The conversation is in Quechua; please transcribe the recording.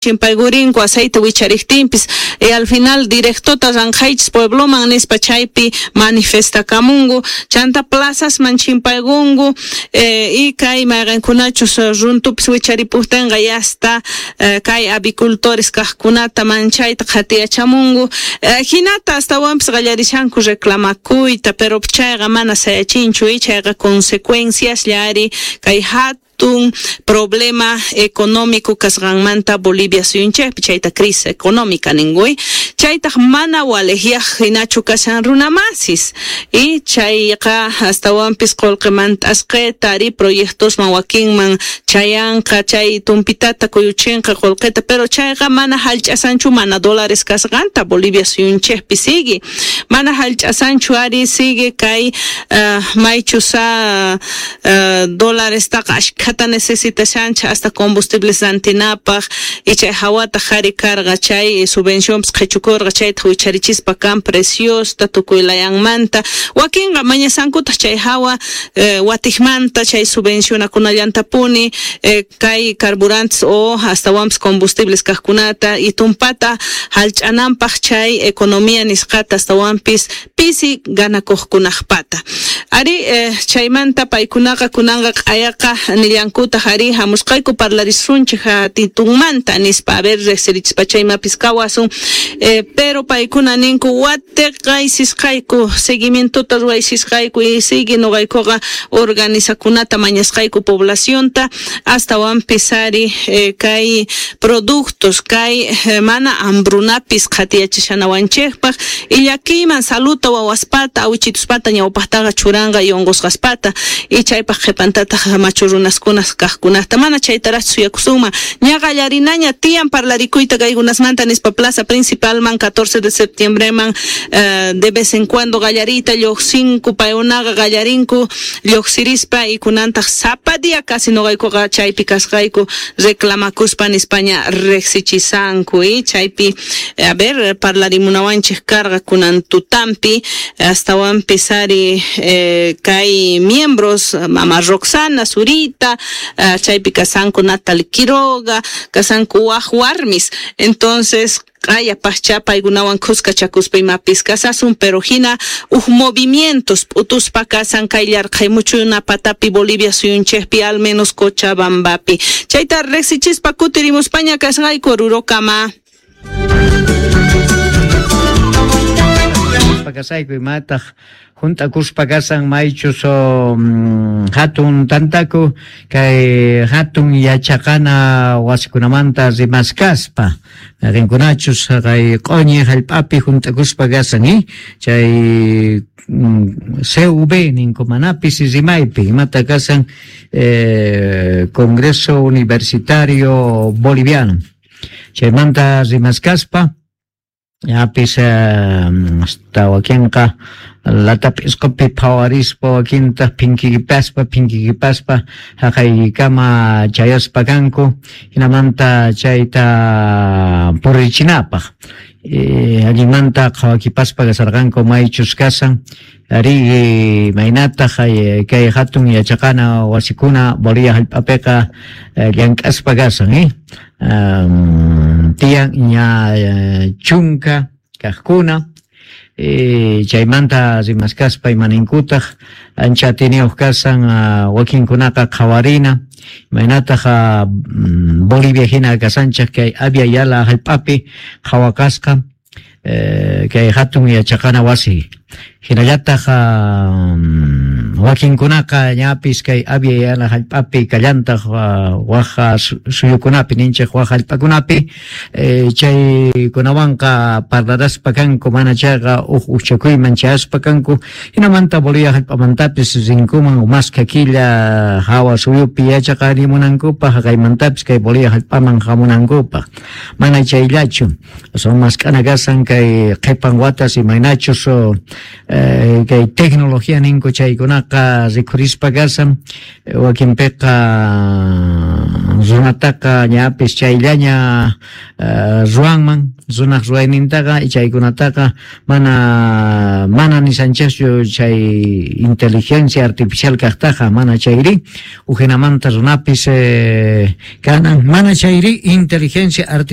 Chimpaykurinku aceite wichariqtinpis y al final directota ranqhaychis puebloman nispa chaypi manifestakamunku chanta plazasman chimpaykunku y kay mayqinkunachus runtupis wicharipuktinqa yasta kay avicultores kaqkunata manchayta qhatiyachamunku hinata astawanpis qallarishanku reclamakuyta, pero chayqa mana sayachinchu y chayqa consecuenciaslla ari kay hatun problema económico kasqanmanta Bolivia suyunchikpi, chayta crisis económica ninkuy, chaytaq mana waliqyaq hinachu kashan runamasis y chayqa astawanpis qullqimanta asqita ari proyectosman wakinman chayanqa chay tumpitata kuyuchinqa qullqita, pero chayqa mana hallch'asanchu mana dólares kasqanta Bolivia suyunchikpi sigue mana hallch'asanchu ari sigue kay maychusa dólarestaqa ashkhata necesitashancha hasta combustibles rantinapaq y chay hawata qhari karqa chay subvencionpis qhichukurqa chayta wicharichispa kan preciosta tukuy layanmanta wakinqa mañasankutaq chay hawa watiqmanta chay subvencionakunallantapuni kay carburantes o astawanpis combustibles kaqkunata y tumpata hallch'ananpaq chay economía nisqata astawanpis pisi ganakuqkunaqpata ari chaymanta paykunaqa kunanqa q'ayaqa nillankutaq ari hamusqayku parlarisunchik titunmanta nispa a ver riqsirichispa chaymapis kawasun pero paykuna ninku watiqaysisqayku seguimientota ruwaysisqayku y sigue nuqaykuqa organizakunata mañasqayku poblacionta astawanpis ari kay productos kay mana hambrunapis qhatiyachishanawanchikpaq y llakiyman saluta wawaspata awichituspata ñawpaqtaqa churanqa y unqusqaspata y chaypaq qhipantataq machu runaskuna kaqkunata mana chaytaraq suyakusunman ña qallarinaña tiyan parlarikuyta kaykunasmanta nispa plaza principalman 14 de septiembreman de vez en cuando qallariyta lluqsinku paykunaqa qallarinku lluqsirispa y kunantaq sapa día casi nuqaykuqa chaypi kasqayku reclamakuspa nispaña riqsichisanku y chaypi a ver parlarimunawanchik karqa kunan tutampi astawanpis ari kay miembros mama Roxana Zurita chaypi kasanku Natalie Quiroga kasanku waq warmis entonces q'aya paqcha paykunawan khuskachakuspa imapis kasasun pero hina huk movimientos p'utuspa kasan kay llarqhaymuchuna patapi Bolivia suyunchikpi al menos Cochabambapi chayta riqsichispa kutirimuspaña kasqayku Orurokama. Kasayku imataq hunt'akuspa kasan maychus hatun tantaku kay hatun yachaqana wasikunamanta rimaskaspa rinkunachus kay q'uñi hallp'api hunt'akuspa kasan chay CV ninku manapis rimaypi imata kasan Congreso Universitario Boliviano chaymanta rimaskaspa yapis hasta wakinqa latap'isqupi phawarispa wakintaq phinkikipaspa haqaykama chayaspa kanku hinamanta chayta purichinapaq allinmanta qhawakipaspa kasarqanku maychus kasan ari maynataq kay hatun yachaqana wasikuna Bolivia hallp'apiqa llank'aspa kasan tiyan ña chunka kaqkuna chaymanta rimaskaspa imaninkutaq ancha atiniyuq kasan wakinkunaqa qhawarina imaynataq Bolivia hina kasanchik kay Abya Yala hallp'api qhawakasqa kay hatun yachaqana wasi hinallataq wakinkunaqa ñapis kay Abya Yala hallp'api kallantaq waq suyukunapi ninchik waq hallp'akunapi chaykunawanqa parlaraspa kanku mana chayqa huk uchakuyman chayaspa kanku hinamanta Bolivia hallp'amantapis rinkuman maskha killa hawa suyupi yachaqarimunankupaq haqaymantapis kay Bolivia hallp'aman hamunankupaq mana chayllachu son mask'ana kasan kay qhipan watas imaynachus kay tecnología ninku chaykunaqa chaykunaqa rikhurispa kashan wakinpiqa runataqa ñapis chayllaña ruwanman runaq ruwaynintaqa chaykunataqa mana mana nishanchikchu chay inteligencia artificial kaqtaqa mana chayri ujinamanta runapis kanan mana chayri inteligencia artificial.